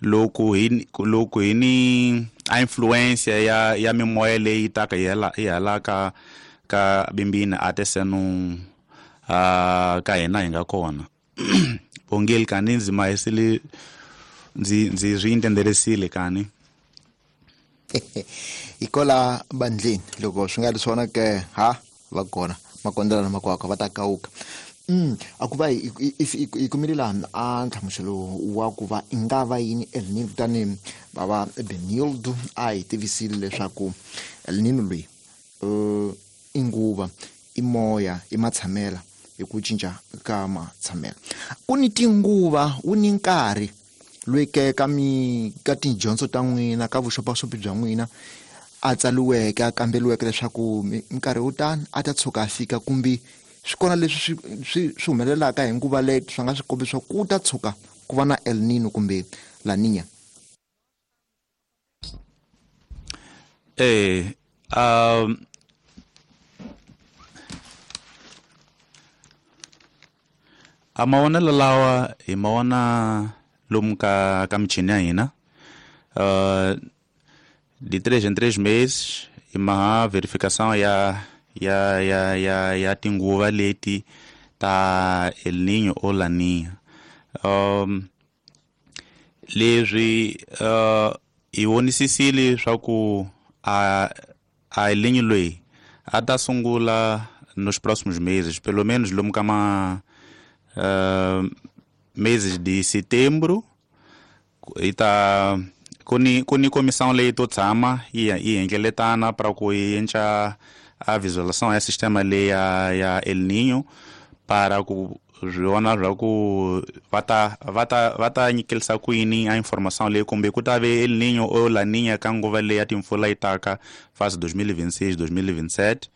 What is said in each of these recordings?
Loko hi ni a influência ya mimoya leyi taka yi hala ka Bimbini ate seno ka hina hi nga kona bongeli kani ndzi mahisile ndzi swi intenderesile kani. Hi kola bandleni loko swi nga ri swona ke ha va kona makondela na makwakwa va ta kawuka. A ku va hi kumile laha a nhlamuselo wa ku va i nga va yini El Nino, kutani bava Benildo a hi tivisile leswaku El Nino loyi i nguva, i moya, i matshamela, hi ku cinca ka matshamelo ku ni tinguva, wu ni nkarhi loyi ke ka mi ka tidyondzo ta n'wina, ka vuxopaxopi bya n'wina, a tsaliweke, a kambeliweke leswaku minkarhi wo tani a ta tshuka a fika, kumbe swi kona leswi swi humelelaka hi nguva leyi swi nga swi kombisa ku ta tshuka ku va na El Nino kumbe La Nina? A mavonelo lawa hi ma vona lomu ka michini ya hina de 3 em 3 meses hi maha verificação ya tinguva leti ta El Niño o La Niña. Leswi hi vonisisile swa ku a El Niño loyi a ta sungula nos próximos meses, pelo menos lomu ka ma meses de setembro. Hi ta ku ni comissão leyi to tshama yi hlengeletana para ku yi endla a visualização ya sistema leyi ya El Niño para ku swi vona swa ku va ta nyikelisa kwini a informação leyi, kumbe ku ta ve El Niño o La Niña ka nguva leyi ya timpfula yi taka fase 2026 2027.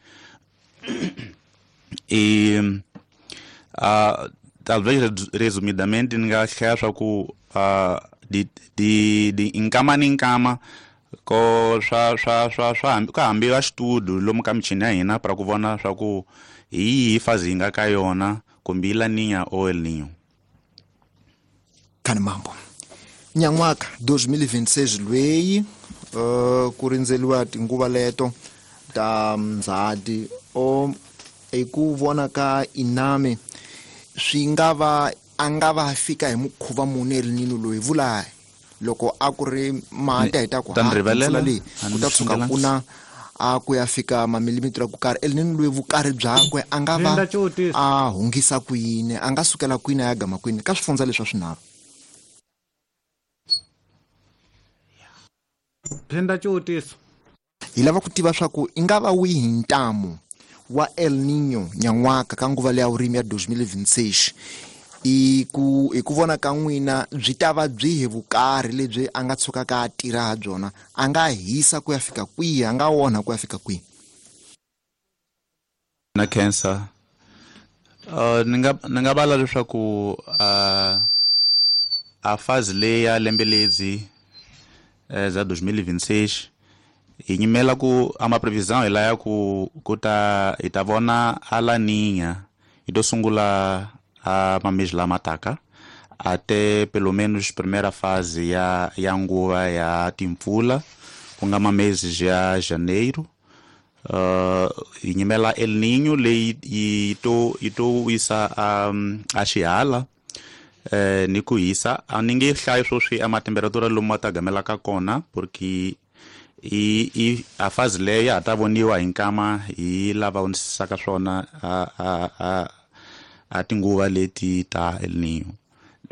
E talvez resumidamente ni nga hlaya swa ku di nkama ni nkama ko swa ka hambiwa xitudio lomu ka michini ya hina para ku vona swa ku hi yihi phase hi nga ka yona, kumbe i La Niña o El Niño. Khani mambo nyan'waka 2026 lweyi ku rindzeliwa tinguva leto ta Ndzhati, o hi ku vona ka iname swi nga va a nga va fika hi mukhuva muni El Nino loyi? Vula loko a ku ri mati a hi ta ku Ta ni rivalela? Mpfula leyi A ku ni ta tshuka swi ku na a ku ya fika mamilimitara ku karhi, El Nino loyi vukarhi byakwe a nga va Linda xivutiso. a hungisa kwini, a nga sukela kwini a ya gama kwini ka swifundza leswi swa swinharhu? Phinda xivutiso. Hi lava ku tiva swa ku i nga va wihi ntamu wa El Nino nyan'waka ka nguva leya vurimi ya 2026. I ku vona ka n'wina byi ta va byihi vukarhi lebyi a nga tshukaka a tirha ha byona? A nga hisa ku ya fika kwihi? A nga onha ku ya fika kwihi? Na cancer ni nga vala leswaku a phase leyi ya lembe ledzi za 2026 hi nyimela ku a ma previsão hi laya ku ta hi ta vona a La Niña yi to sungula a mamês lama taka até pelo menos primeira fase ya nguva ya timpfula, ku nga mameses ya janeiro. Hi nyimela El Niño leyi yi to wisa a xihala ni ku hisa. A ni nge hlayi swoswi a matemperatura lomu ma ta gamelaka kona, porque i a phase leyo ya ha ta voniwa hi nkama hi lava vonisisaka swona a tinguva leti ta El Niño.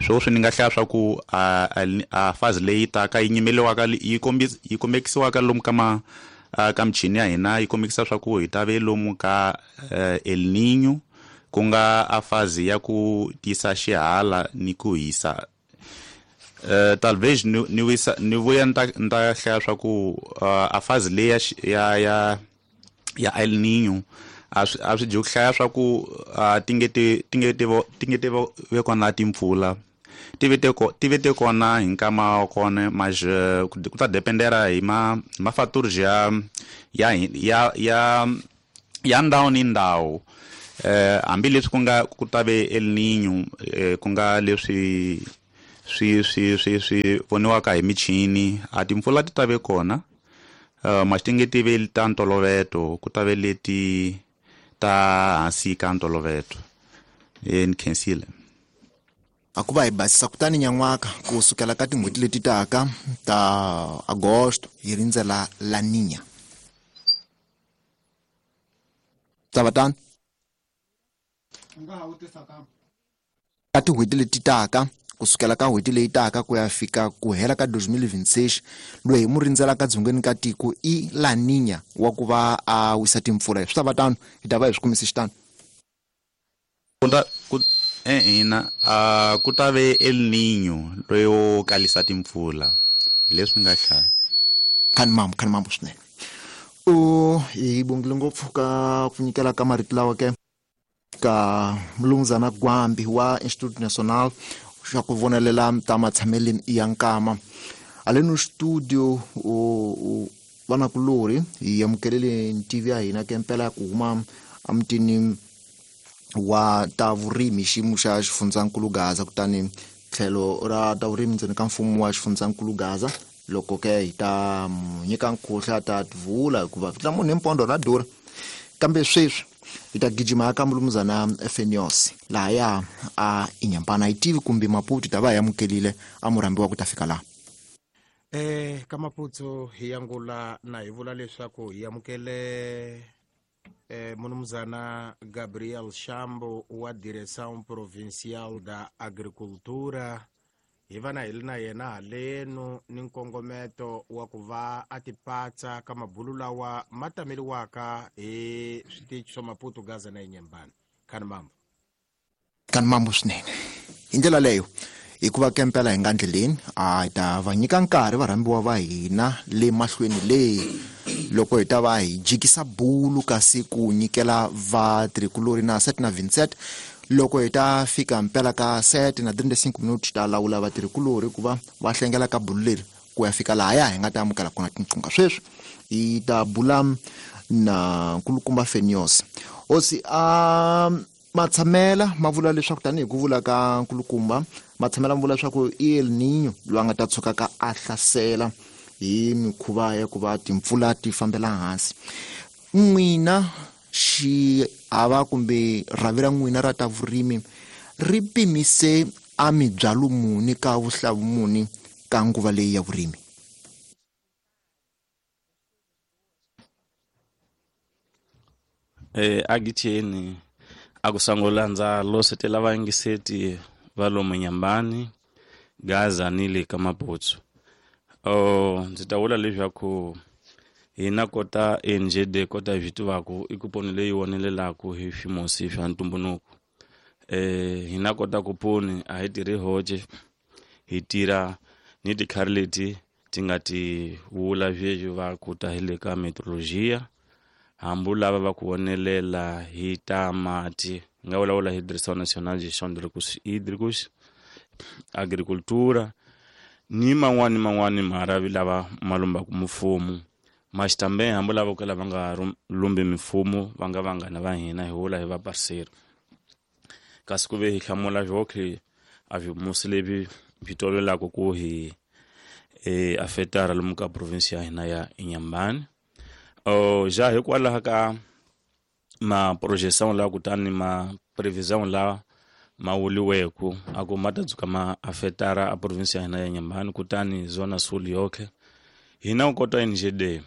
Swoswi ni nga hlaya swa ku a phase leyi taka yi nyimeliwaka yi kombekisiwaka lomu ka ma ka michini ya hina yi kombekisa swa ku hi ta ve lomu ka El Niño, ku nga a phase ya ku tisa xihala ni ku hisa. Talvez ni wisa ni vuya ni ta hlaya swa ku a phase leyi ya El Niño a swi dyi ku hlaya swa ku ti nge ti ve kona timpfula, ti ve te kona hi nkama wa kona, mas ku ta dependera hi ma fatores ya ndhawu ni ndhawu. Hambileswi ku nga ku ta ve El Niño, ku nga leswi swi swi swi swi voniwaka hi michini a timpfula ti ta ve kona ma ti nge tive ta ntoloveto ku ta ve leti ta hansi ka ntoloveto e ni khensile. A ku va hi basisa kutani nyan'waka ku sukela ka tin'hweti leti taka ta agosto hi rindzela La Niña ta va tano ka tin'hweti leti taka ku sukela ka n'hweti leyi taka ku ya fika ku hela ka 2026 loyi hi mu rindzelaka dzongeni ka tiko i La Niña wa ku va a wisa timpfula swi ta va tano hi ta va hi swi kumise xitano. Ku ina a ku ta ve El Niño loyi wo kalisa timpfula leswi nga hlaya. Khani mambo, khani mambo swinene. U hi bongile ngopfu ka ku nyikela ka marito lawa ke ka Mulumuzana Gwambi wa Instituto Nacional xa ku vonelela ta matshamele ya nkama. Haleno studio u vanakulorhi hi amukelele ntivi ya hina ke mpela ya ku huma emutini wa ta vurimi xiyimo xa xifundzankulu Gaza kutani tlhelo ra ta vurimi ndzeni ka mfumo wa xifundzankulu Gaza loko ke hi ta nyika nkhuhla ta tivula hikuva vito la munhu hi mpondo ra durha kambe sweswi hi ta gijima ka Mulumuzana Fenios lahaya a Inyampana yi tivi kumbe Maputo ta va hi amukelile a murhambiwa ku ta fika laha. Ka Maputo hi angula na hi vula leswaku hi amukele Munumuzana Gabriel Shambo wa Direção Provincial da Agricultura hi va na hi ri na yena halenu ni nkongometo wa ku va a tipatsa ka mabulu lawa ma tameliwaka hi switichi swa Maputo, Gaza na Inhambane. Khani mambo. Khani mambo swinene. Hi ndlela leyo hikuva ke mpela hi nga ndleleni a hi ta va nyika nkarhi varhambiwa va hina le mahlweni le loko hi ta va hi jikisa bulu kasi ku nyikela vatirhikulori na 7 na 27 loko hi ta fika mpela ka 7 na 35 minutes ta lawula vatirhikulori ku va va hlengela ka bulu leri ku ya fika lahaya hi nga ta amukela kona tinqunga. Sweswi hi ta bula na nkulukumba Fenios. Hosi a matshamela ma vula leswaku tanihi ku vula ka nkulukumba matshamela ma vula leswaku i El Niño loyi a nga ta tshuka ka a hlasela hi mikhuva ya ku va timpfula ti fambela hansi. N'wina xiava kumbe rhavi ra n'wina ra ta vurimi ri pimise a mibyalo muni ka vuhlavu muni ka nguva leyi ya vurimi? Agitheni a ku sangula ndza losetela vayingiseti va lomu Nyambani, Gaza ni le ka Maputo. Ndzi ta vula leswaku hina kota NGD kota hi swi tivaku i kuponi leyi vonelelaku hi swimusi swa ntumbuluko. Hina kota kuponi a hi tirhi hoxe, hi tirha ni tikhari leti ti nga ti vula sweswi va ku ta hi le ka meteorologia hambi lava va ku vonelela hi ta mati nga vulavula hi Direction Nationale Gestion de Recursos Hídricos, Agricultura ni man'wani man'wani marhavi lava ma lumbaku mfumo. Maxitambe hambi lava ka lava nga lumbi mimfumo va nga vanghana va hina hi vula hi va parceiro. Kasi ku ve hi hlamula swotlhe a swimusi leswi swi tolovelaka ku hi afetara lomu ka province ya hina ya Inhambane. Ja hikwalaho ka ma projeção lawa kutani ma previsão lawa ma vuliweku a ku ma ta dzuka ma afetara a province ya hina ya Inhambane kutani zona sul yotlhe hina ku kota NGD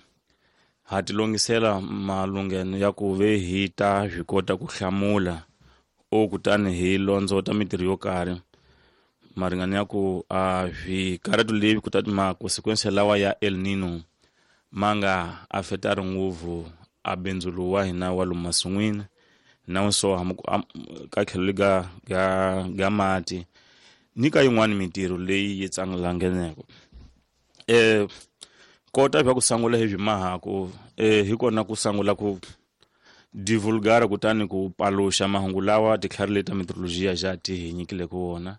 ha ti longisela malungheno ya ku ve hi ta swi kota ku hlamula o kutani hi londzota mitirho yo karhi maringano ya ku a swikarhato leswi kutani ma consequence lawa ya El Nino ma nga afetari ngopfu a bindzu lowu wa hina wa lomu masin'wini na so ka tlhelo ga ga ga mati ni ka yin'wani mitirho leyi yi tsangalangeneko. Kota swa ku sangula hi swimahaku hi kona ku sangula ku divulgara kutani ku paluxa mahungu lawa titlhari leti ta meteorologia ja ti hi nyikile ku wona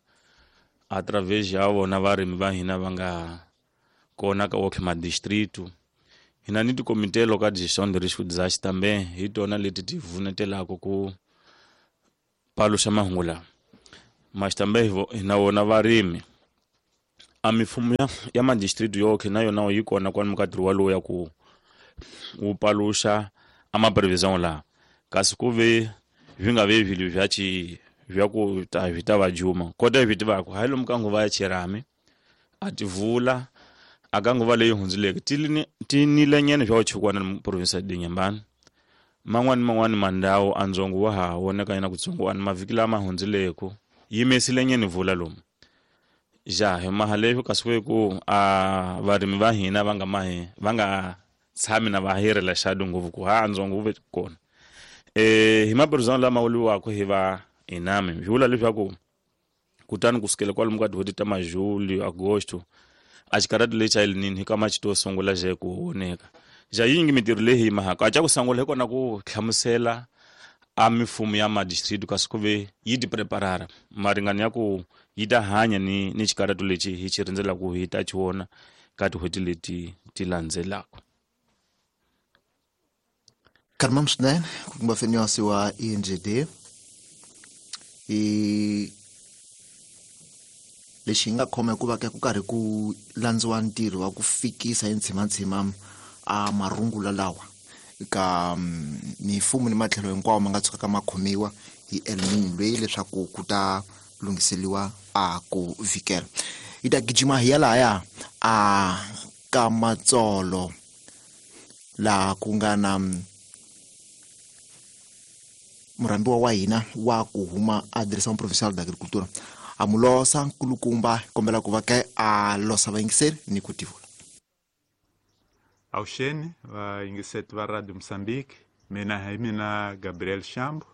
a través ya vona varimi va hina va nga kona ka wotlhe madistritu. Hina ni tikomitelo ka gestion de risque disaster tambe hi tona leti ti vunetelaka ku paluxa mahungu lawa. Maxitambe hina vona varimi A mifumo ya madistrict yoke na yona yi kona kwalomu ka ntirho walowu ya ku wu paluxa a maprevision laha, kasi ku ve swi nga ve swilo bya ci bya ku ta swi ta va juma kota hi swi tivaka hayi lomu ka nguva ya chirami a ti vula a ka nguva leyi hundzileke ti nilenyene swa chukwana ni province ya Inhambane. Man'wani man'wani mandhawu a ndzongo wa ha voneka nyana kutsongwana mavhiki lama hundzileku yimesilenyene vula lomu ja hi maha leswi kasi ku ku a varimi va hina va nga mahi va nga tshami na va hirela xadu ngopfu ku ha ndzongo wu ve kona. Hi maburizano lama vuliwaka hi va inami swi vula leswaku kutani kusukela kwalomu ka tin'hweti ta majuli agosto a xikarati lexi a El Niño hi kama xi to sungula xe ku voneka ja yingi mintirho leyi hi mahaka a ca ku sungula hi kona ku hlamusela a mifumo ya madistrict kasi ku ve yi ti preparara maringano ya ku yi ta hanya ni xikaratu lexi hi xi rindzelaka hi ta xi vona ka tin'hweti leti ti landzelaka. Karmam swinene ku kumba fenyosi wa INGD i lexi hi nga khoma hikuva ke ku karhi ku landziwa ntirho wa ku fikisa hi ntshimantsima a marungula lawa ka mifumo ni matlhelo hinkwawo ma nga tshukaka ma khomiwa hi El Niño leyi leswaku ku ta lunghiseliwa a ku vikela. Hi ta gijima hi ya lahaya a ka Matsolo laha ku nga na murhambiwa wa hina wa ku huma a Direction Provinciale d'Agriculture a mu losa nkulukumba kombela ku va ke a losa vayingiseri ni ku tivula. Avuxeni vayingiseti va Radio Mozambique, mina hi mina Gabriel Shambo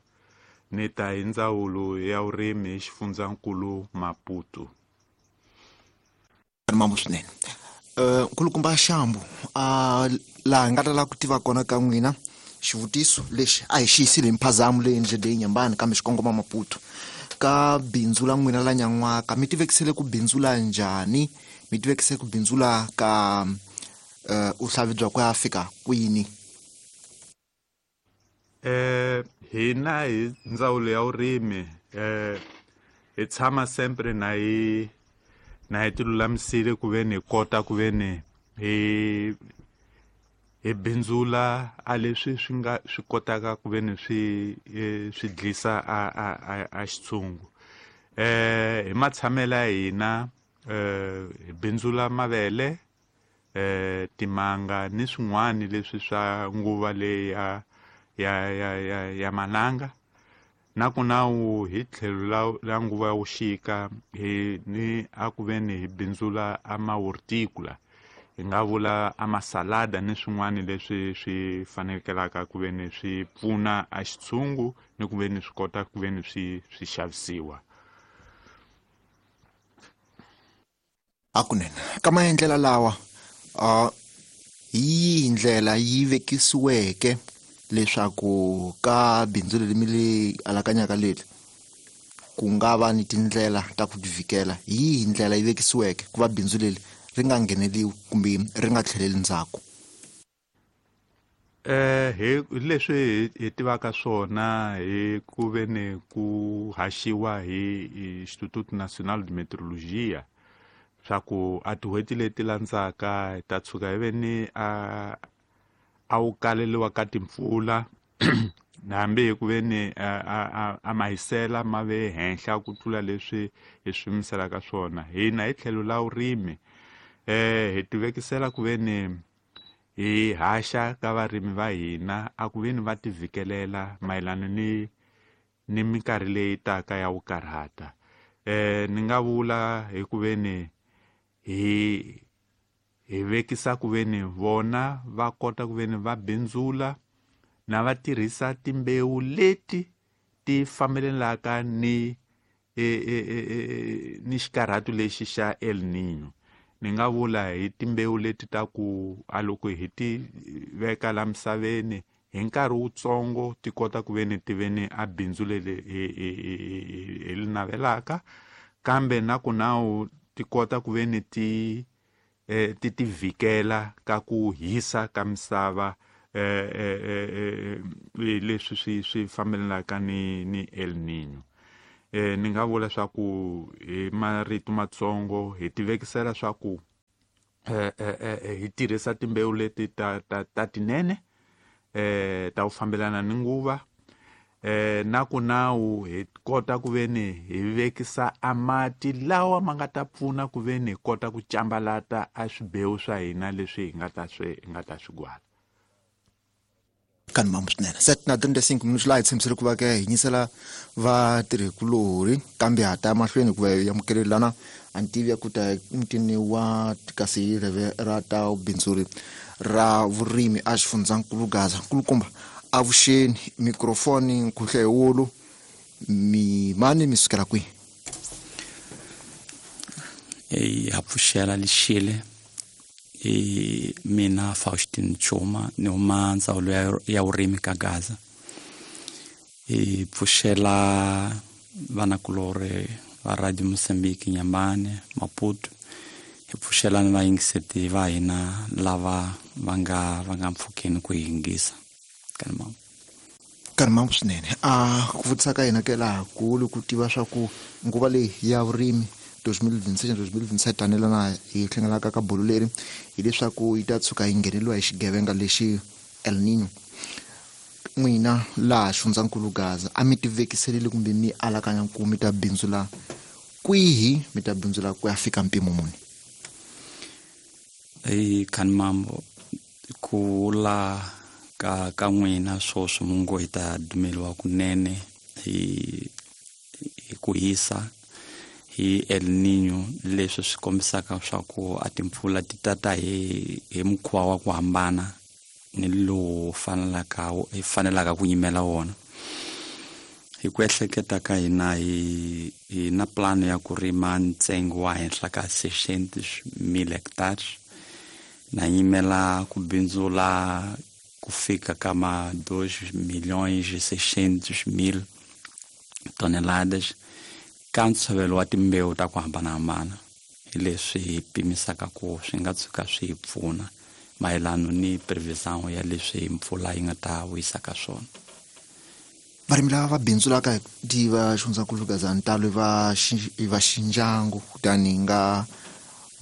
ni ta hi ndzawulo ya vurimi hi xifundzankulu Maputo. Mambo swinene. Nkulukumba Shambo, laha hi nga ta lava ku tiva kona ka n'wina xivutiso lexi a hi xi yisile hi mphazamo leyi endlele Inhambane kambe xi kongoma Maputo. Ka bindzu la n'wina la nyan'waka mi tivekisele ku bindzula njhani? Mi tivekisele ku bindzula ka uhlavi bya ku ya fika kwini? Hina hi ndzawulo ya vurimi hi tshama sempre na hi tilulamisile ku ve ni hi kota ku ve ni hi bindzula a leswi swi nga swi kotaka ku ve ni swi dlisa a xitshungu. Hi matshamelo ya hina hi bindzula mavele, timanga ni swin'wani leswi swa nguva leyi ya mananga. Na ku nawu hi tlhelo la nguva ya vuxika hi ni a ku ve ni hi bindzula a mahorticola, hi nga vula a masalada ni swin'wani leswi swi fanekelaka ku ve ni swi pfuna a xitshungu ni ku ve ni swi kota ku ve ni swi xavisiwa. Hakunene ka maendlelo lawa hi yihi ndlela yi vekisiweke leswaku ka bindzu leri mi le alakanyaka leri ku nga va ni tindlela ta ku tivikela? Hi yihi ndlela yi vekisiweke ku va bindzu leri ri nga ngheneliwi kumbe ri nga tlheleli ndzhaku? Hi leswi hi tivaka swona hi ku ve ni ku haxiwa hi Instituto Nacional de Meteorologia swa ku a tin'hweti leti landzaka hi ta tshuka hi ve ni a wu kaleliwa ka timpfula hambi hi ku ve ni a mahisela ma ve henhla ku tlula leswi hi swi yimiselaka swona. Hina hi tlhelo la vurimi hi tivekisela ku ve ni hi haxa ka varimi va hina a ku ve ni va tivikelela mayelana ni minkarhi leyi taka ya vukarhata. Ni nga vula hi ku ve ni hi vekisa ku ve ni vona va kota ku ve ni va bindzula na va tirhisa timbewu leti ti fambelelaka ni ni xikarhatu lexi xa El Niño. Ni nga vula hi timbewu leti ta ku a loko hi ti veka la misaveni hi nkarhi wutsongo ti kota ku ve ni ti ve ni a bindzu leri hi li navelaka, kambe na ku nawu ti kota ku ve ni ti ti tivikela ka ku hisa ka misava leswi swi fambelaka ni El Niño. Ni nga vula swa ku hi marito matsongo hi tivekisela swa ku hi tirhisa timbewu leti ta tinene ta ku fambelana ni nguva, na ku nawu hi kota ku veni hi vekisa a mati lawa ma nga ta pfuna ku veni hi kota ku cambalata a swibewu swa hina leswi hi nga ta swi gwala. Kani mambo swinene 7:35 minutos laha hi tshembisile ku va ke hi nyisela vatirhikulorhi kambe ha ta mahlweni hikuva hi amukelelana a ni tivi ya ku ta mutini wa kasi reve ra ta bindzuri ra vurimi a xifundzankulu Gaza. Nkulukumba avuxeni, mikrofoni nkhuhlewulu mi mani mi sukela kwihi? Ha pfuxela lexile i mina Faustin Chuma ni huma ndzawulo ya vurimi ka Gaza. I pfuxela vanakulorhi va Radio Mozambique Nyambane Maputo, hi pfuxela ni vayingiseti va hina lava va nga mpfhukeni ku yingisa. Kani mambo swinene. A ku vutisa ka hina ke laha kulu ku tiva swa ku nguva leyi ya vurimi 2026-2027 tanelana hi hlanganaka ka bolo leri hileswaku yi ta tshuka yi ngheneliwa hi xigevenga lexi El Niño. N'wina laha xifundzankulu Gaza a mi tivekiselile kumbe mi alakanya ku mi ta bindzula kwihi, mi ta bindzula ku ya fika mpimo muni? Kani mambo ku la ka n'wina swoswi mungo hi ta dumeliwa kunene hi ku hisa hi El Niño, leswi swi kombisaka swa ku a timpfula ti tata hi mukhuva wa ku hambana ni lowu fanelaka ku yimela wona. Hi ku ehleketa ka hina hi na plan ya ku rima ntsengo wa henhla ka 600,000 hectares, na yimela ku bindzula ku fika ka ma 2,600,000 toneladas ka ntshovelo wa timbewu ta ku hambanahambana. Hi leswi hi pimisaka ku swi nga tshuka swi hi pfuna mayelana ni prevision ya leswi mpfula yi nga ta vuyisaka swona. Varimi lava va bindzulaka tiva xifundzankulu Gaza ntalo va xindyangu kutani nga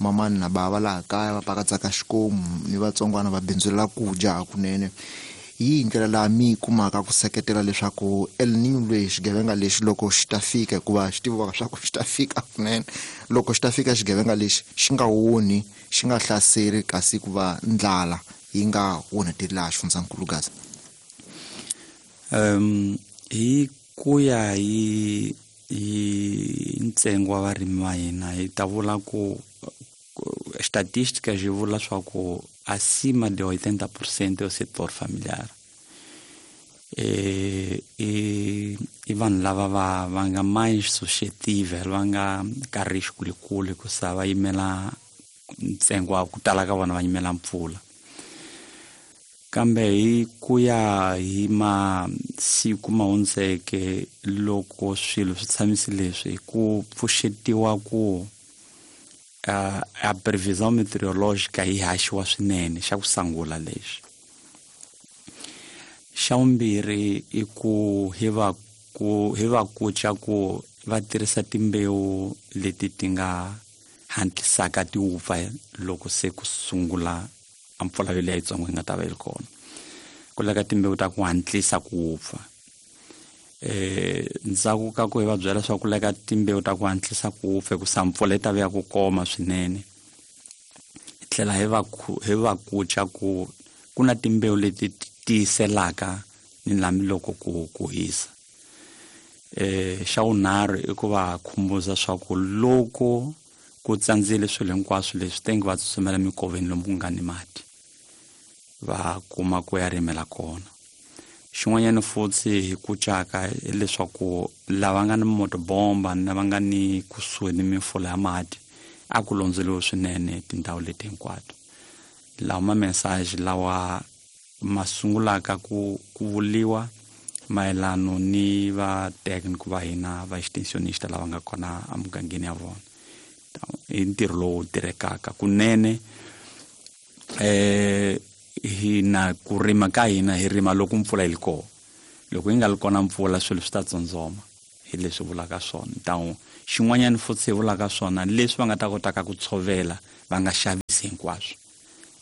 mamani na bava laha kaya va pakatsaka xikomu ni vatsongwana va bindzulela ku dya hakunene. Hi ndlela laha mi kumaka ku seketela leswaku El Niño leyi xigevenga lexi loko xi ta fika, hikuva xi tiviwaka swa ku xi ta fika kunene, loko xi ta fika xigevenga lexi xi nga onhi, xi nga hlaseri, kasi ku va ndlala yi nga onheteli laha xifundzankulu Gaza? Hi ku ya hi ntsengo wa varimi va hina hi ta vula ku estatística xi vula swa ku acima de 80% é o setor familiar. I vanhu lava va nga mais suscetível, va nga ka risco likulu hikusa va yimela ntsengo wa ku tala ka vona va yimela mpfula. Kambe hi ku ya hi masiku ma hundzeke loko swilo swi tshamise leswi ku pfuxetiwa ku a previsão meteorológica yi haxiwa swinene xa ku sungula lexi. Xa vumbirhi i ku hi va kuca ku va tirhisa timbewu leti ti nga hantlisaka ti wupfa loko se ku sungula a mpfula yoleyo yitsongo yi nga ta va yi ri kona. Ku lava timbewu ta ku hantlisa ku wupfa. Ndzhaku ka ku hi va byela swa ku leka timbewu ta ku hantlisa ku wupfa hikusa mpfula yi ta va ya ku koma swinene. Hi tlhela hi va kuca ku ku na timbewu leti tiyiselaka ni lami loko ku hisa. Xa vunharhu i ku va khumbuza swa ku loko ku tsandzile swilo hinkwaswo leswi tenge va tsutsumela mikoveni lomu ku nga ni mati va kuma ku ya rimela kona. Xin'wanyana futhi hi ku caka hileswaku lava nga ni motobomba na va nga ni kusuhi ni mifula ya mati a ku londzeliwe swinene tindhawu leti hinkwato. Lawa ma message lawa ma sungulaka ku vuliwa mayelano ni va technical va hina va extensionista lava nga kona emugangeni ya vona. I ntirho lowu tirhekaka kunene. Hina ku rima ka hina hi rima loko mpfula yi ri kona. Loko yi nga ri kona mpfula swilo swi ta tsondzoma. Hi leswi vulaka swona. Então xin'wanyana futhi hi vulaka swona leswi va nga ta kotaka ku tshovela va nga xavisi hinkwaswo.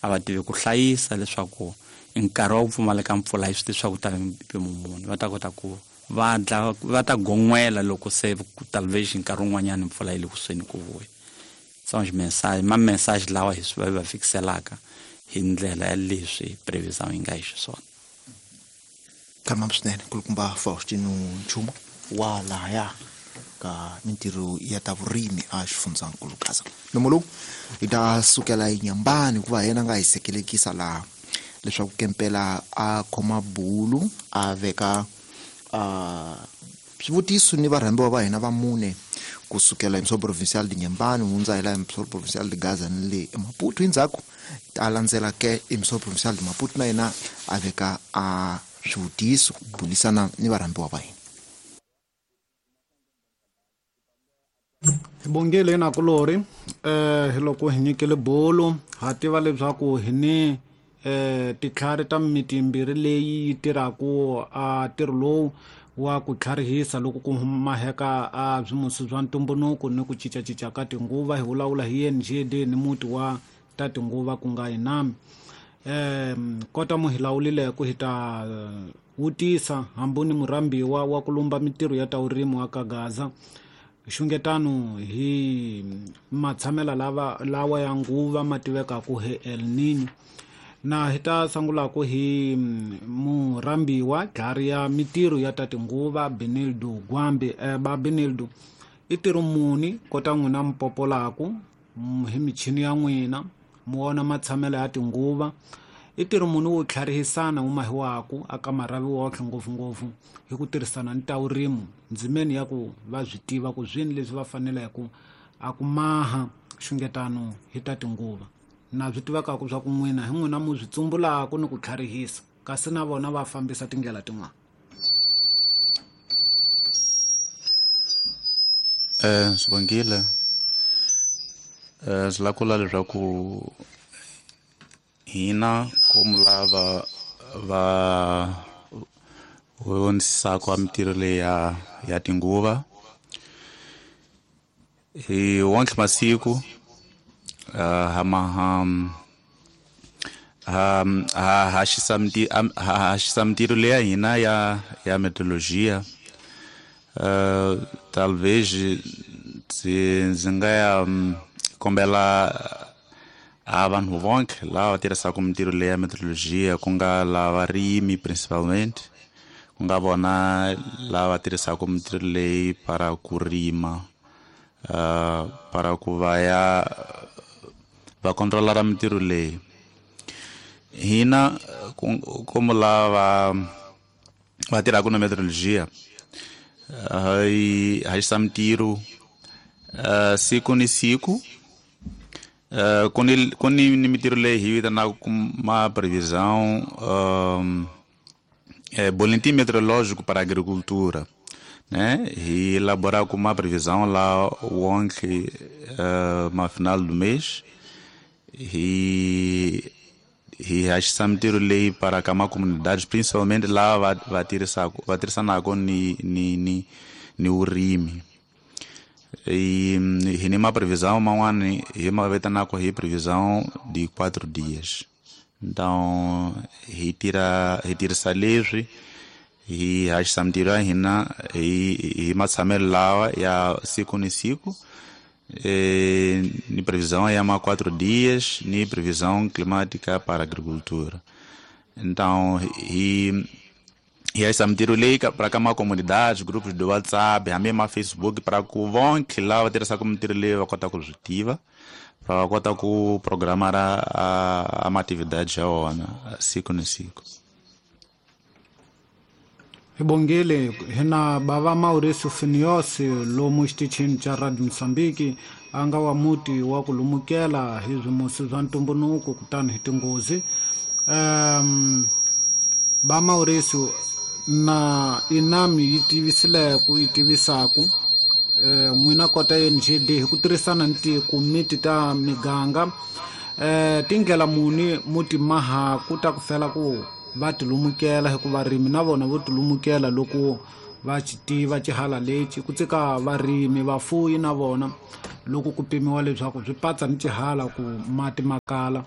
A va tivi ku hlayisa leswaku nkarhi wa ku pfumaleka mpfula hi swi tivi swa ku ta mpimo muni, va ta kota ku va dla va ta gon'wela loko se talvez nkarhi wun'wanyana mpfula yi le kusuhi ku vuya. São os mensagens, ma message lawa hi swi va fikiselaka hi ndlela ya leswi previsão yi nga hi xiswona. Kama swinene kulukumba Faustino Nchumu wa lahaya ka mintirho ya ta vurimi a xifundzankulu Gaza. Nomo lowu hi ta sukela eNyambani hikuva yena nga hi sekelekisa laha leswaku kempela a khoma bulu a veka swivutiso ni varhambiwa va hina va mune kusukela emisoro provincial de Nyambani hundza hi laha emisoro provincial de Gaza ni le Maputo. Endzhaku a landzela ke emisoro provincial de Maputo na yena a veka a swivutiso ku bulisana ni varhambiwa va hina. Hi bongile nakulori hi loko hi nyikele bolo ha tiva leswaku hi ni titlhari ta miti yimbirhi leyi yi tirhaku a ntirho lowu wa ku tlharihisa loko ku maheka a swimusi swa ntumbuluko ni ku cincacinca ka tinguva. Hi vulavula hi NGD ni muti wa ta tinguva ku nga Inami. Kota mu hi lawulile ku hi ta vutisa hambi ni murhambiwa wa ku lumba mintirho ya ta vurimi wa ka Gaza xungetano hi matshamela lawa ya nguva ma tivekaku hi El Niño. Na hi ta sungulaku hi murhambiwa dlari ya mintirho ya ta tinguva Benildo Gwambi. Ba Benildo i ntirho muni kota n'wina mupopolaku hi michini ya n'wina mu vona matshamelo ya tinguva, i ntirho muni wo tlharihisana wu mahiwaku aka marhavi wotlhe ngopfungopfu hi ku tirhisana ni ta vurimi ndzimeni ya ku va swi tiva ku swini leswi va faneleke a ku maha xungetano hi ta tinguva. Na swi tivekaku swa ku n'wina hi n'wina mu swi tsumbulaku ni ku tlharihisa kasi na vona va fambisa tindlela tin'wana. Sibongile, swi lava ku vula leswaku hina komu lava va vonisaka mintirho leyi ya tinguva hi wonke masiku haxisa mintirho leyi ya hina ya meteorologia. Talvez ndzi nga ya kombela a vanhu vonke lava tirhisaka mintirho leyi ya meteorologia, ku nga lava varimi principalmente, ku nga vona lava tirhisaka mintirho leyi para ku rima, para ku va ya va controlara mintirho leyi. Hina como lava va tirhaka na meteorologia hi haxisa mintirho siku ni siku. Ku ni mintirho leyi hi vitanaka ma previsão boletim meteorológico para a agricultura, né? Hi elaborar com uma previsão lá wonke ma final do mês hi haxisa mintirho leyi para ka ma comunidades, principalmente lá va tirhisanaka ni vurimi. Hi ni ma previsão man'wani hi ma vitanaka hi previsão de 4 dias. Então hi tirhisa leswi hi haxisa mintirho ya hina hi matshamelo lawa ya siku ni siku, ni previsão ya ma 4 dias, ni previsão climática para agricultura. Então hi haxisa mintirho leyi para ka ma comunidades, grupos de WhatsApp, hambi ma Facebook, para ku vonke lava va tirhisaka mintirho leyi va kota ku swi tiva, para va kota ku programar a ma atividades ya wona siku ni siku. Hi bongile hina bava Mauricio Finios lomu xitichini xa Radio Mozambique a nga wa muti wa ku lumukela hi swimusi swa ntumbuluko kutani hi tinghozi. Ba Mauricio na Inami yi tivisileke yi tivisaku n'wina kota NGD hi ku tirhisana ni tikomiti ta miganga tindlela muni muti mahaku ta ku fela ku va tilumukela hikuva varimi na vona vo tilumukela loko Va xi tiva xihala lexi ku tsika varimi vafuyi na vona loko ku pimiwa leswaku swi patsa ni xihala ku mati ma kala.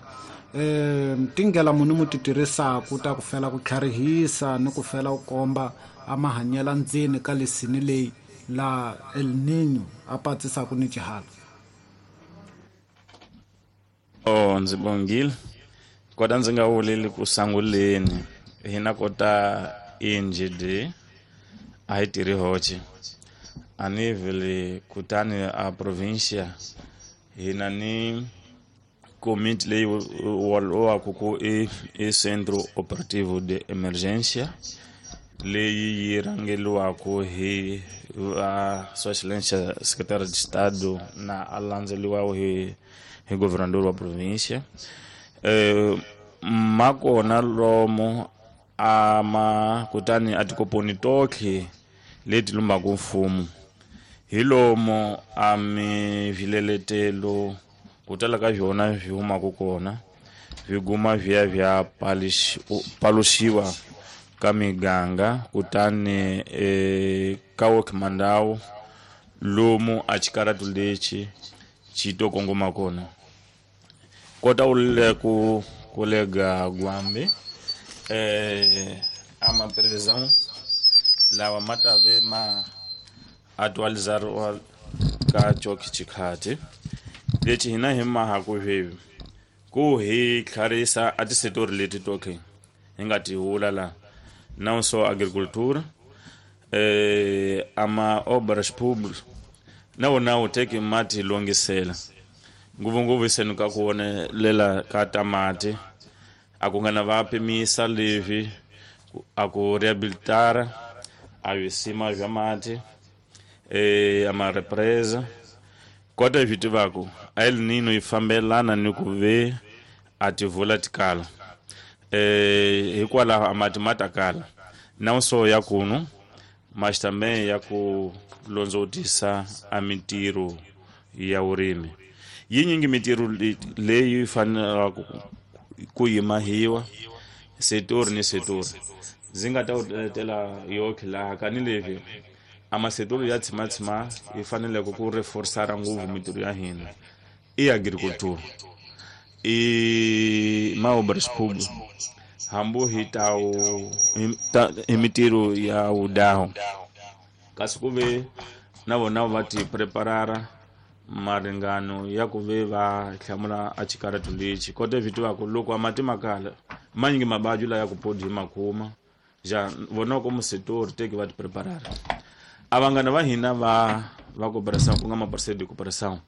Tindlela muni mu ti tirhisaku ta ku fela ku tlharihisa ni ku fela ku komba a mahanyela ndzeni ka lesini leyi la El Niño a patsisaku ni xihala? Oh, ndzi bongile kota ndzi nga vuleli ku sanguleni hina kota INGD a hi tirhi hoxe a nível kutani a província hina ni komiti leyi walowaku ku i Centro Operativo de Emergência leyi yi rhangeliwaku hi va Sua Excelência Secretário de Estado na a landzeliwaku hi governador wa província. Makona lomo ama kutani a tikoponi totlhe leti lumbaku mfumo hi lomo a mivileletelo ku tala ka byona byi humaka kona byi guma byi ya bya paluxiwa ka miganga kutani ka wokhimandawu lomu a xikaratu lexi xi to kongoma kona. Kota u ku kolega Gwambe ama previsão lawa ma ta ve ma atualizariwa ka coki xikhati lexi hina hi mahaku sweswi ku hi tlharisa a tisetori leti toke hi nga ti vula la não só agricultura, ama obras públicas na wona wu teki ma ti longisela ngopfungopfu seni ka ku vonelela ka tamati a ku nga na va pimisa leswi a ku rehabilitara a swisima bya mati, ama represa. Kota hi swi tivaku a El Niño yi fambelana ni ku ve a tivula tikala, hikwalaho a mati ma ta kala não só ya kunu mas também ya ku londzotisa a mintirho ya vurimi. Yinyingi mintirho leyi fanelaka ku yimahiwa setori ni setori ndzi nga ta letela yoke laha ka ni leswi a masetori ya tshimatshima yi faneleke ku reforsara ngopfu mintirho ya hina i agriculture i maobras públicas hambu hi tawu hi mintirho ya wudaho kasi ku ve na vona va ti preparara maringano ya ku ve va hlamula a xikaratu lexi kota swi tivaku loko a mati ma kala manyingi mabaju la ya ku podi hi makuma ja vona ko musetori teki va ti preparara. A vanghana va hina va cooperação ku nga ma parceiro de cooperação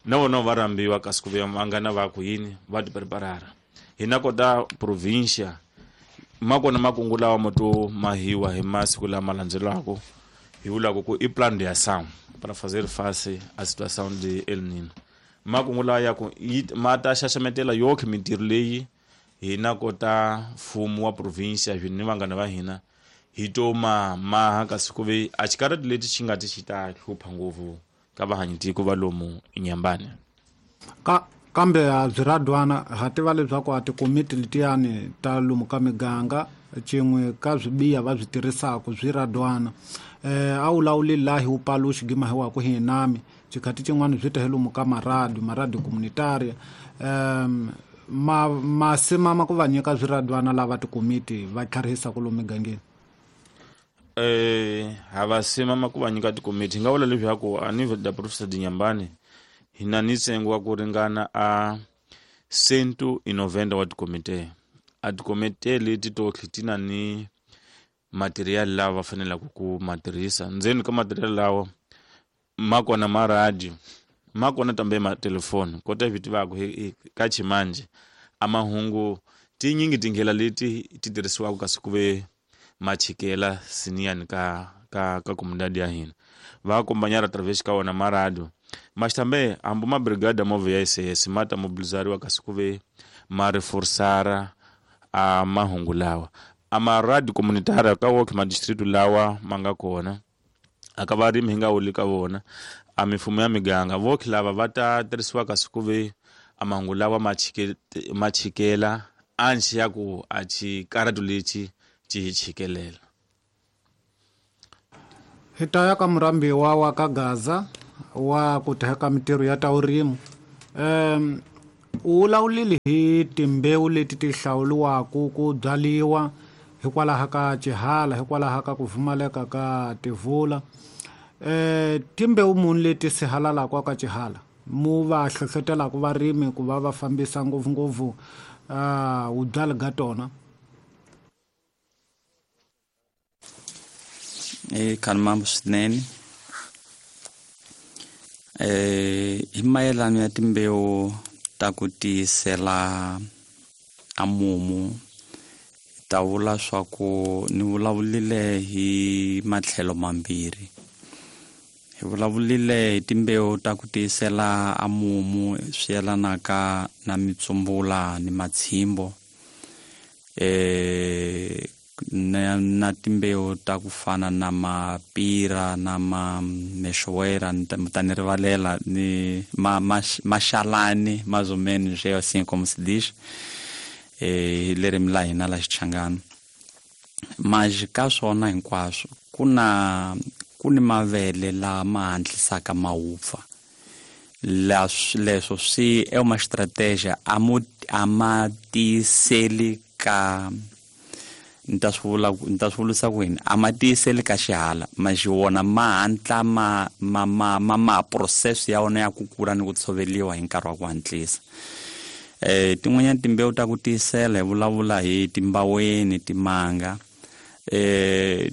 na vona va rambiwa kasi ku ve vanghana va ku yini va ti preparara. Hina kota província makona makungu lawa mo to mahiwa hi masiku lama landzelaka hi vulaka ku i plan de ação para fazer face à situação de El Niño. Makungu lawa ya ku ma ta xaxametela yoke mintirho leyi hina kota mfumo wa província ni vanghana va hina hi to ma maha kasi ku ve a xikarati leti xi nga ti xi ta hlupha ngopfu ka vahanyitiko va lomu Inhambane. Kambe a byi radwana ha tiva leswaku a tikomiti letiyani ta lomu ka miganga cin'we ka swibiha va swi tirhisaku swi radwana. A wu lawuli laha hi wu paluxi gima hi waku hi nami xikhati xin'wana swi ta hi lomu ka maradi communitaria. Ma simama ku va nyika swiradwana lava tikomiti va tlharihisaku lomu migangeni. Ha va simama ku va nyika tikomiti hi nga vula leswaku a nível da província de Inhambane hina ni ntsengo wa ku ringana a 190 wa tikomite. A tikomite leti totlhe ti na ni material lawa va fanelaka ku ma tirhisa. Ndzeni ka material lawa ma kona ma radio, ma kona tambe ma telefoni. Kota swi tivaku ka ximanje a mahungu tinyingi tindlela leti ti tirhisiwaka kasi ku ve machikela siniyani ka comunidade ya hina va acompanhar através ka wona ma radio. Mas também hambi ma brigada móvel ya SAS ma ta mobilizariwa kasi ku ve ma reforçara a mahungu lawa. A ma radio comunitária ka woke ma distrito lawa ma nga kona a ka varimi hi nga wuli ka vona a mifumo ya miganga voke lava va ta tirhisiwa kasi ku ve a mahungu lawa ma chikela anchi ya ku a xikaratu lexi xi hi chikelela. Hi ta ya ka murhambiwa wa ka Gaza wa ku teka mintirho ya ta vurimi. U vulavulile hi timbewu leti ti hlawuriwaka ku byariwa hikwalaho ka xihala, hikwalaho ka ku pfumaleka ka tivula. Timbewu muni leti sihalalaka ka xihala mu va hlohlotelaka varimi ku va va fambisa ngopfungopfu vubyali ga tona? Khanimambo swinene. Hi mayelana ya timbewu ta ku tiyisela a mumu, ta vula swa ku ni vulavulile hi matlhelo mambirhi. Hi vulavulile hi timbewu ta ku tiyisela a mumu swi yelanaka na mitsumbula ni matshimbo, na timbewu ta ku fana na mapira na mamexoera, ta ni rivalela ni maxalani mais ou menos é assim como se diz, hi ririmi la hina la Xichangani. Mas ka swona hinkwaswo ku na ku ni mavele lama hatlisaka ma wupfa. Leswo swi é uma estratégia a ma tiyiseli ka ni ta swi vula, ni ta swi vulisa ku yini, a ma tiyiseli ka xihala, mas wona ma hatla ma process ya wona ya ku kula ni ku tshoveriwa hi nkarhi wa ku hatlisa. Tin'wanyana timbewu ta ku tiyisela hi vulavula hi timbaweni, timanga,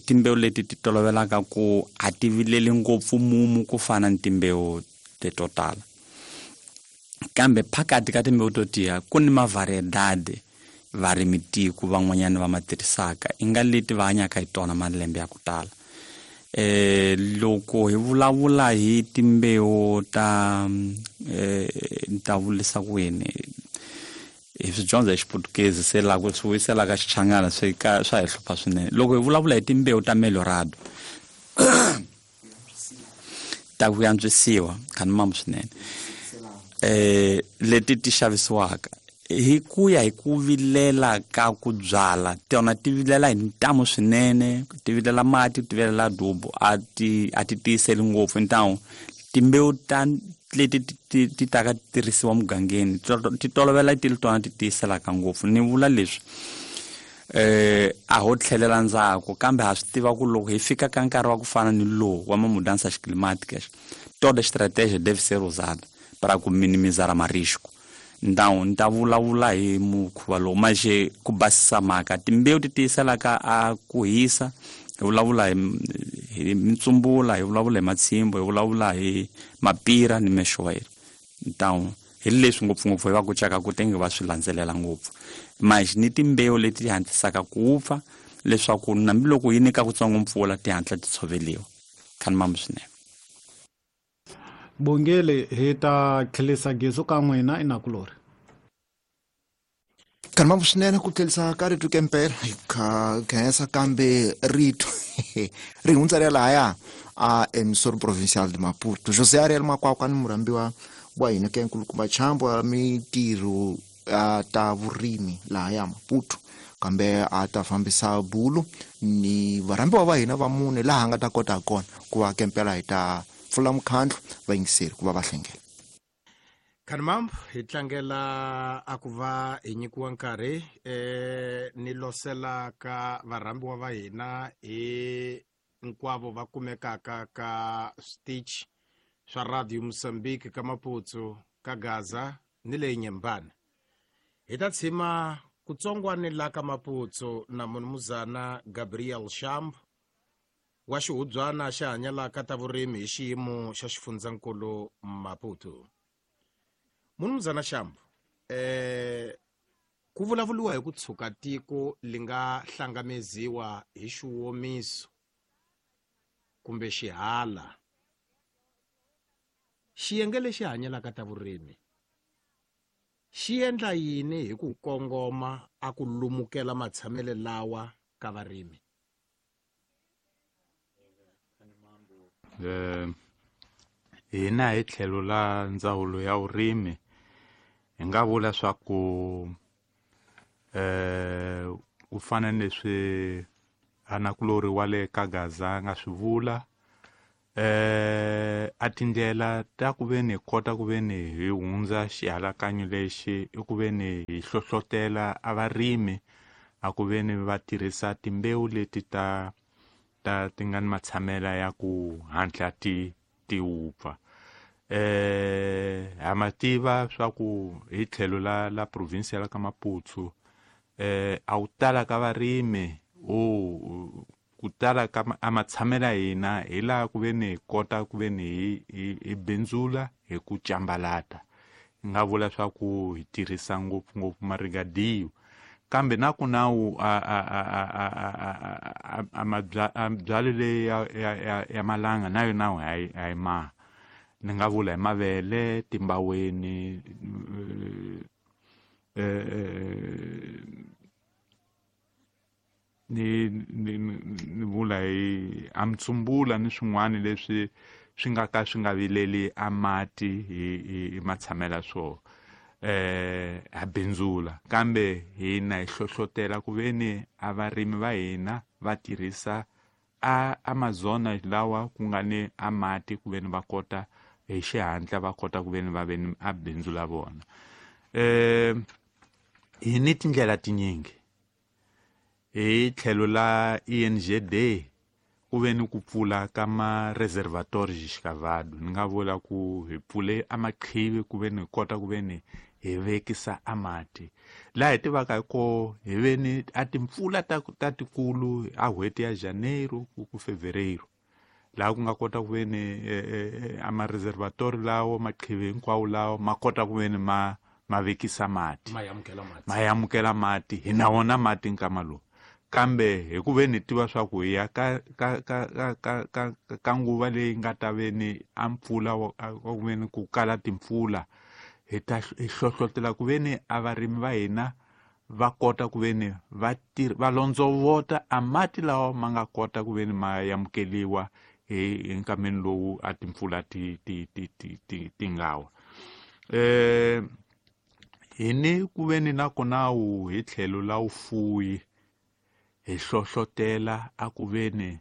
timbewu leti ti tolovelaka ku a ti vileli ngopfu mumu ku fana ni timbewu leto tala. Kambe phakathi ka timbewu to tiya ku ni mavariedade varimi tiko van'wanyana va ma tirhisaka, i nga leti va hanyaka hi tona malembe ya ku tala. Loko hi vulavula hi timbewu ta ni ta vulisa ku yini, hi swi dyondza hi Xiputukezi, se laha ku swi vuyisela ka Xichangana swi ka swa hi hlupha swinene. Loko hi vulavula hi timbewu ta Melhorado ta ku antswisiwa, khanimambo swinene, leti ti xavisiwaka hi ku ya hi ku vilela ka ku byala, tona ti vilela hi ntamu swinene, ti vilela mati, ti vilela dubu, a ti tiyiseli ngopfu. Ntamu timbewu ta leti ti taka ti tirhisiwa mugangeni ti tolovela ti ri tona ti tiyiselaka ngopfu. Ni vula leswi a ho tlhelela ndzhaku, kambe ha swi tiva ku loko hi fika ka nkarhi wa ku fana ni lowu wa mudança climáticas, toda estratégia deve ser usada para ku minimizar marisco. Então ni ta vulavula hi mukhuva lowu, mas ku basisa mhaka, timbewu ti tiyiselaka a ku hisa, hi vulavula hi mitsumbula, hi vulavula hi matshimbo, hi vulavula hi mapira ni mexoera. Então hi leswi ngopfungopfu hi va kucaka ku tenge va swi landzelela ngopfu. Mas ni timbewu leti ti hatlisaka ku wupfa leswaku hambiloko yi nyika kutsongo mpfula ti hatla ti tshoveriwa. Khanimambo swinene. Bongele, hi ta tlhelisa gezu ka n'wina inakulori. Khanimambo swinene ku tlhelisa ka rito kempela, hi khensa kambe rito ri hundza ri ya lahaya a Emissora Provincial de Maputo. José Ariel Makwakwa ni murhambiwa wa hina ke nkulukumba Chambo ya mintirho ta vurimi lahaya Maputo, kambe a ta fambisa bulu ni varhambiwa va hina va mune laha nga ta kota kona ku va kempela hi ta pfula mukhandlu vayingiseri ku va va hlengela. Khanimambo, hi tlangela a ku va hi nyikiwa nkarhi ni losela ka varhambiwa va hina hi hinkwavo va kumekaka ka switichi swa Radio Mozambique ka Maputo, ka Gaza ni le Nyembane. Hi ta tshima kutsongwani la ka Maputo na munumuzana Gabriel Shambo wa xihubyana xa hanyalaka ta vurimi hi xiyimo xa xifundzankulu Maputo. Munumuzana Shambo, ku vulavuriwa hi ku tshuka tiko li nga hlangameziwa hi xiwomiso kumbe xihala. Xiyenge lexi hanyelaka ta vurimi xi endla yini hi ku kongoma a ku lumukela matshamele lawa ka varimi? Hina hi tlhelo la ndzawulo ya vurimi hi nga vula swa ku ku fana ni leswi anakulori wa le ka Gaza nga swi vula, A tindlela ta ku ve ni kota ku ve ni hi hundza xihalakanyo lexi i ku ve ni hi hlohlotela a varimi a ku ve ni va tirhisa timbewu leti ta ta ti nga ni matshamela ya ku hatla ti ti wupfa. Ha ma tiva swa ku hi tlhelo la province ya ka Maputo a wu tala ka varimi o ku tala ka a matshamela hina hi laha ku ve ni hi kota ku ve ni hi bindzula hi ku cambalata. Hi nga vula swa ku hi tirhisa ngopfungopfu marigadiyo, kambe na ku nawu a byalo leyi ya malanga na yona ha yi maha. Ni nga vula hi mavele, timbaweni, ni vula hi amtsumbula ni swin'wana leswi swi nga ka swi nga vileli a mati hi matshamela swo ha bindzula. Kambe hina hi hlohlotela ku ve ni a varimi va hina va tirhisa a Amazona lawa ku nga ni a mati ku ve ni va kota hi xihatla va kota ku ve ni va ve ni a bindzu la vona. Hi ni tindlela tinyingi hi tlhelo la INGD ku ve ni ku pfula ka ma-reservatoire xikavado. Ni nga vula ku hi pfule a maqhivi ku ve ni hi kota ku ve ni hi vekisa a mati. Laha hi tivaka hi ko hi ve ni a timpfula ta tikulu a n'hweti ya Janeiro ku Fevereiro, laha ku nga kota ku ve ni a ma-reservatoire lawo maqhivi hinkwawo lawo ma kota ku ve ni ma vekisa mati, ma amukela mati. Hi na wona mati nkama lowu, kambe hi ku ve ni tiva swa ku hi ya ka ka ka ka ka ka nguva leyi nga ta ve ni a mpfula ku ve ni ku kala timpfula, hi ta hi hlohlotela ku ve ni a varimi va hina va kota ku ve ni va londzovota a mati lawa ma nga kota ku ve ni ma amukeliwa hi nkameni lowu a timpfula ti ti ti ti ti ti nga wa. Hi ni ku ve ni nakona wu hi tlhelo la vufuwi hi hlohlotela a ku ve ni